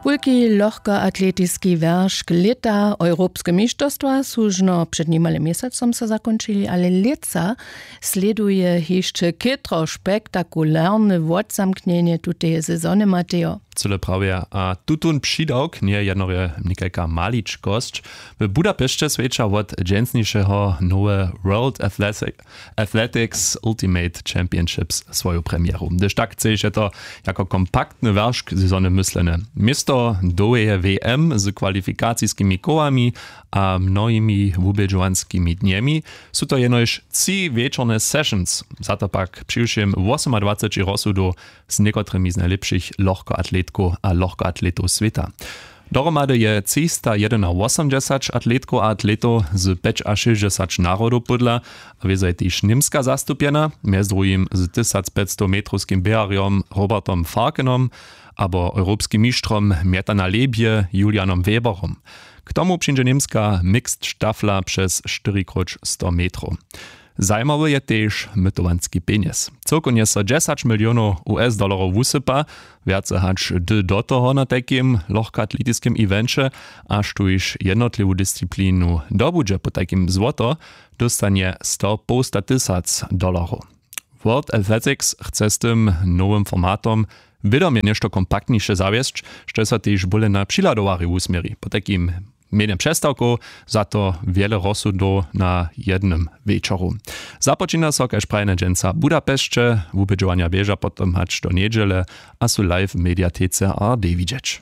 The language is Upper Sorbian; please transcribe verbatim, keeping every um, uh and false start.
Wulki lochkoatletiski wjeršk lěta, europske mišterstwa su žno před nimale měsacom so zakónčili, ale lětsa slěduje hišće chětro spektakularne wotzamknjenje tuteje sezony, Matejo. Cyle prawje, a tutón přidawk njeje jednorje někajka maličkosć. W budapešće swjeća wot dźensnišeho nowe world Athletic- athletics ultimate championships swoju premjeru, hdyž tak chceše to jako kompaktny wjeršk sezony myslene. Město dołheje w m z kwalifikaciskimi kołami a mnohimi wubědźowanskimi dnjemi su to jenož tři wječorne sessions, za to pak přiwšěm wosomadwaceći rozsudow z někotrymi z najlěpšich lochkoatletkow a lochkoatletow swěta. Dohromady je třista jedynawosomdźesać atletkow a atletow z pjećašěsćdźesać narodow pódla, a wězo je tež němska zastupjena, mjez druhim z tysacpjećstometrowskim běharjom Robertom Farkenom abo europskim mištrom mjeta na lebje Julianom Weberom. K tomu přińdźe němska mixed štafla přez štyrikróć sto metrow. Zajimawy je tež mytowanski pjenjez. Cyłkownje so dźesać milionow u s dollorow wusypa, wjace hač hdy do toho na tajkim lochkoatletiskim evenće, a štóž jednotliwu disciplinu dobudźe po tajkim złoto, dóstanje sto połsta tysac dolloru. World Athletics chce z tym nowym formatom wědomje něšto kompaktniše zawjesć, štož so tež bóle na přihladowarju wusměri po tajkim mjenje přestawkow, za to wjele rozsudow na jednym wječoru. Započina so kaž prajena dźensa w budapešće, wubědźowanja běža potom hač do njedźele a su live w mediatece a d widźeć.